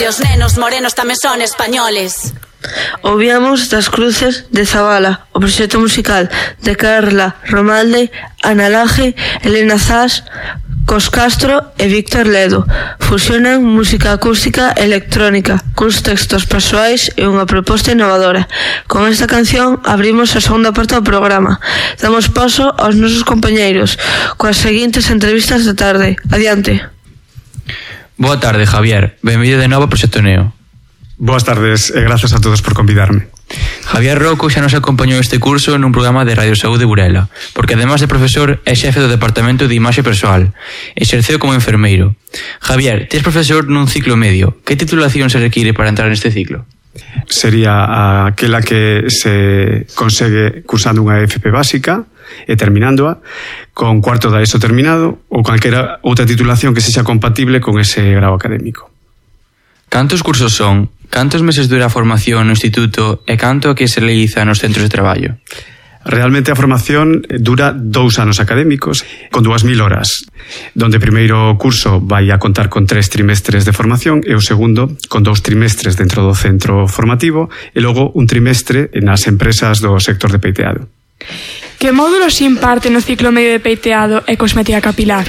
Os nenos morenos tamén son españoles. Ouvíamos Das Cruces de Zabala, o proxecto musical de Carla Romalde, Ana Laje, Elena Zas, Cos Castro e Víctor Ledo. Fusionan música acústica e electrónica, cuns textos persoais e unha proposta innovadora. Con esta canción abrimos a segunda parte do programa. Damos paso aos nosos compañeiros coas seguintes entrevistas da tarde. Adiante. Boa tarde, Javier. Benvido de novo ao Proxecto Neo. Boas tardes e grazas a todos por convidarme. Javier Rocco xa nos acompañou este curso nun programa de Radio Saúde Burela, porque además de profesor é xefe do Departamento de Imaxe Persoal. Exerceu como enfermeiro. Javier, tes profesor nun ciclo medio. Que titulación se require para entrar neste ciclo? Sería aquela que se consegue cursando unha FP básica e terminándoa, con cuarto da ESO terminado ou calquera outra titulación que sexa compatible con ese grau académico. Cantos cursos son? Cantos meses dura a formación no instituto e canto que se realiza nos centros de traballo? Realmente a formación dura 2 anos académicos con 2000 horas, donde o primeiro curso vai a contar con 3 trimestres de formación e o segundo con 2 trimestres dentro do centro formativo e logo un trimestre nas empresas do sector de peiteado. Que módulos se imparte no ciclo medio de peiteado e cosmética capilar?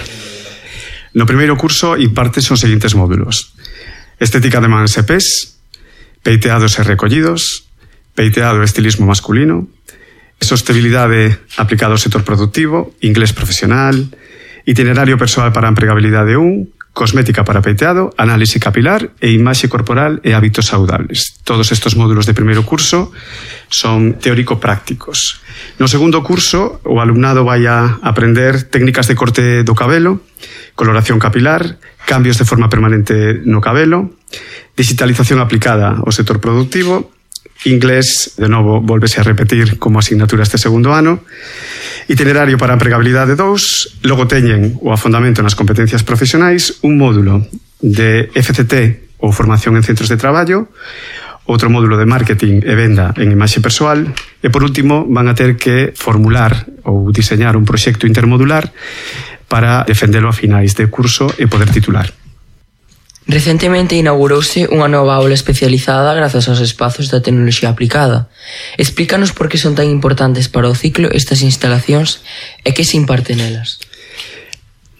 No primeiro curso imparte os seguintes módulos: estética de mans e pés, peiteados e recollidos, peiteado e estilismo masculino, sostenibilidade aplicada ao sector productivo, inglés profesional, itinerario persoal para a empregabilidade 1, cosmética para peiteado, análise capilar e imaxe corporal e hábitos saudables. Todos estes módulos de primeiro curso son teórico-prácticos. No segundo curso, o alumnado vai a aprender técnicas de corte do cabelo, coloración capilar, cambios de forma permanente no cabelo, digitalización aplicada ao sector productivo, inglés, de novo, volvese a repetir como asignatura este segundo ano, itinerario para a empregabilidade 2, logo teñen o afondamento nas competencias profesionais, un módulo de FCT ou formación en centros de traballo, outro módulo de marketing e venda en imaxe persoal e, por último, van a ter que formular ou diseñar un proxecto intermodular para defendelo a finais de curso e poder titular. Recentemente inaugurouse unha nova aula especializada grazas aos espazos da tecnoloxía aplicada. Explícanos por que son tan importantes para o ciclo estas instalacións e que se imparte nelas.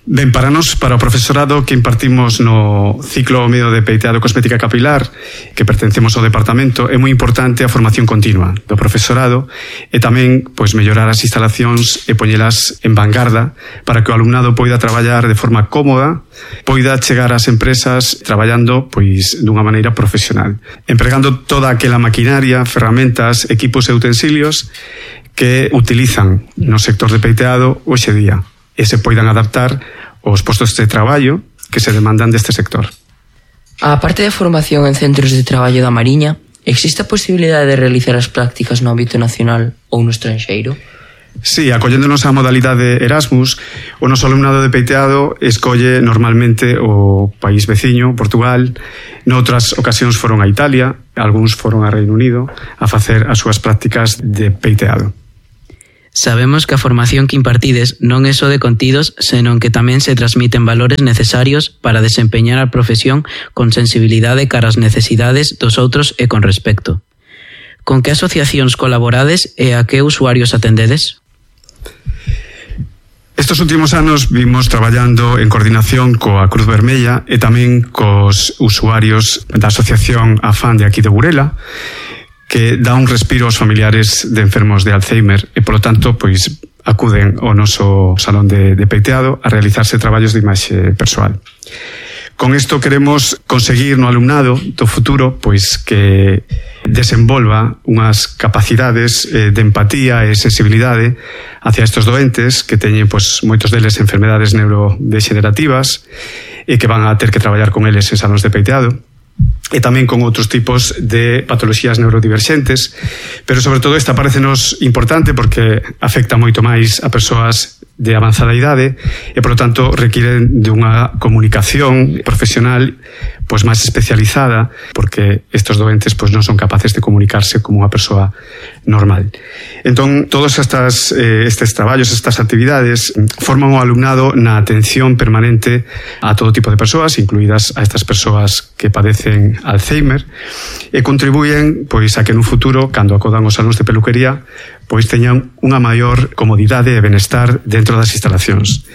Ben, para nós, para o profesorado que impartimos no ciclo medio de peiteado e cosmética capilar, que pertencemos ao departamento, é moi importante a formación continua do profesorado e tamén mellorar as instalacións e poñelas en vanguarda para que o alumnado poida traballar de forma cómoda, poida chegar ás empresas traballando dunha maneira profesional, empregando toda aquela maquinaria, ferramentas, equipos e utensilios que utilizan no sector de peiteado hoxe día e se poidan adaptar aos postos de traballo que se demandan deste sector. A parte da formación en centros de traballo da Mariña, existe a posibilidade de realizar as prácticas no ámbito nacional ou no estranxeiro? Sí, acolléndonos á modalidade Erasmus, o noso alumnado de peiteado escolle normalmente o país veciño, Portugal. Noutras ocasións foron a Italia, algúns foron a Reino Unido a facer as súas prácticas de peiteado. Sabemos que a formación que impartides non é só de contidos, senón que tamén se transmiten valores necesarios para desempeñar a profesión con sensibilidade cara ás necesidades dos outros e con respecto. Con que asociacións colaborades e a que usuarios atendedes? Estos últimos anos vimos traballando en coordinación coa Cruz Vermella e tamén cos usuarios da asociación AFAN de aquí de Burela, que dá un respiro aos familiares de enfermos de Alzheimer e, polo tanto, acuden ao noso salón de peiteado a realizarse traballos de imaxe persoal. Con isto queremos conseguir no alumnado do futuro que desenvolva unhas capacidades de empatía e sensibilidade hacia estes doentes que teñen moitos deles enfermedades neurodegenerativas e que van a ter que traballar con eles en salóns de peiteado, e tamén con outros tipos de patoloxías neurodiverxentes, pero sobre todo esta parecenos importante porque afecta moito máis a persoas de avanzada idade e, polo tanto, requiren de unha comunicación profesional pois máis especializada, porque estes doentes pois non son capaces de comunicarse como unha persoa normal. Entón, todos estes traballos, estas actividades, forman o alumnado na atención permanente a todo tipo de persoas, incluídas a estas persoas que padecen Alzheimer, e contribuyen pois a que nun futuro, cando acodan os salóns de peluquería, pois teñan unha maior comodidade e benestar dentro das instalacións.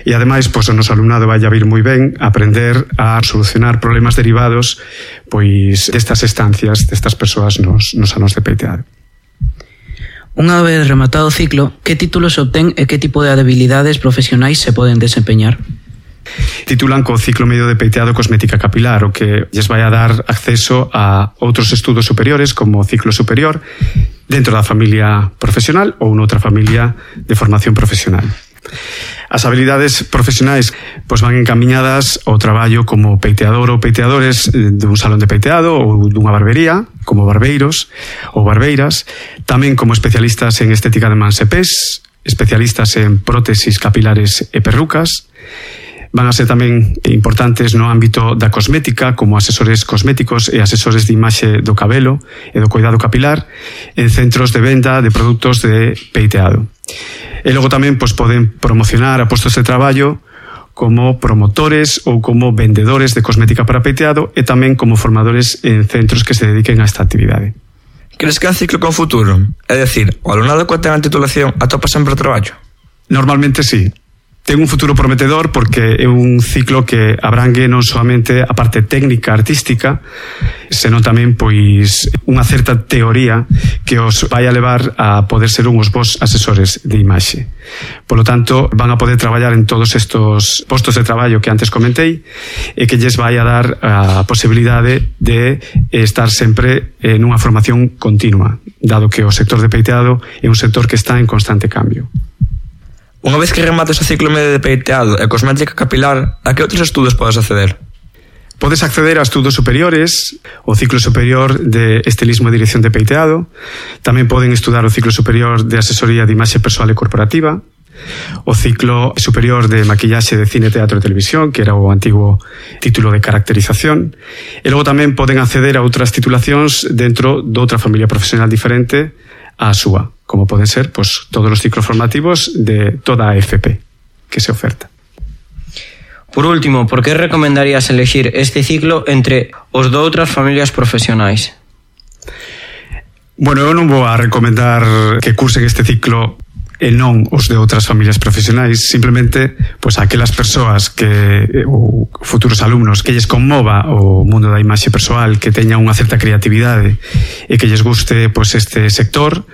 E ademais, pois o noso alumnado vai a vir moi ben a aprender a solucionar problemas derivados pois destas estancias, destas persoas nos salóns de peiteado. Unha vez rematado o ciclo, que títulos se obtén e que tipo de habilidades profesionais se poden desempeñar? Titulan co ciclo medio de peiteado cosmética capilar, o que lles vai a dar acceso a outros estudos superiores como ciclo superior dentro da familia profesional ou noutra familia de formación profesional. As habilidades profesionais pois van encamiñadas ao traballo como peiteador ou peiteadores dun salón de peiteado ou dunha barbería, como barbeiros ou barbeiras, tamén como especialistas en estética de mans e pés, especialistas en prótesis capilares e perrucas. Van a ser tamén importantes no ámbito da cosmética, como asesores cosméticos e asesores de imaxe do cabelo e do cuidado capilar en centros de venda de produtos de peiteado. E logo tamén pois, poden promocionar a postos de traballo como promotores ou como vendedores de cosmética para peiteado e tamén como formadores en centros que se dediquen a esta actividade. Crees que é un ciclo con futuro? É dicir, o alumnado que ten a titulación atopa sempre o traballo? Normalmente sí. Ten un futuro prometedor porque é un ciclo que abrangue non soamente a parte técnica artística, senón tamén pois unha certa teoría que os vai a levar a poder ser uns bons asesores de imaxe. Polo tanto, van a poder traballar en todos estos postos de traballo que antes comentei e que lles vai a dar a posibilidade de estar sempre nunha formación continua, dado que o sector de peiteado é un sector que está en constante cambio. Unha vez que remates o ciclo medio de peiteado e cosmética capilar, a que outros estudos podes acceder? Podes acceder a estudos superiores, o ciclo superior de estilismo e dirección de peiteado, tamén poden estudar o ciclo superior de asesoría de imaxe persoal e corporativa, o ciclo superior de maquillaxe de cine, teatro e televisión, que era o antigo título de caracterización, e logo tamén poden acceder a outras titulacións dentro de outra familia profesional diferente á súa, como poden ser pois, todos os ciclos formativos de toda a FP que se oferta. Por último, por que recomendarías elegir este ciclo entre os de outras familias profesionais? Bueno, eu non vou a recomendar que cursen este ciclo e non os de outras familias profesionais, simplemente pois aquelas persoas que ou futuros alumnos que lles conmova o mundo da imaxe persoal, que teña unha certa creatividade e que lles guste pois este sector,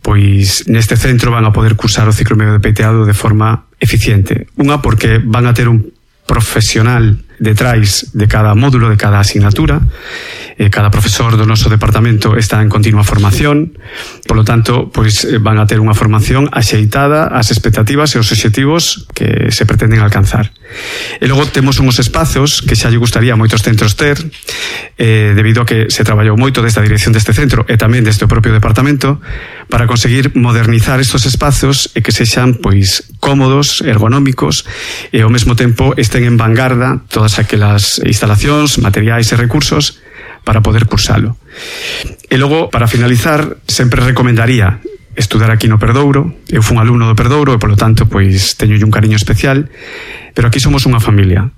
pois neste centro van a poder cursar o ciclo medio de peiteado de forma eficiente. Unha porque van a ter un profesional detrás de cada módulo, de cada asignatura. Cada profesor do noso departamento está en continua formación, polo tanto, pois van a ter unha formación axeitada ás expectativas e os obxectivos que se pretenden alcanzar. E logo temos uns espazos que xa lle gustaría a moitos centros ter, debido a que se traballou moito desde a dirección deste centro e tamén desde o propio departamento para conseguir modernizar estos espazos e que sexan pois cómodos, ergonómicos e ao mesmo tempo estén en vanguarda todas aquelas instalacións, materiais e recursos para poder cursalo. E logo, para finalizar, sempre recomendaría estudar aquí no Perdouro. Eu fui un alumno do Perdouro e, polo tanto, pois teño un cariño especial, pero aquí somos unha familia.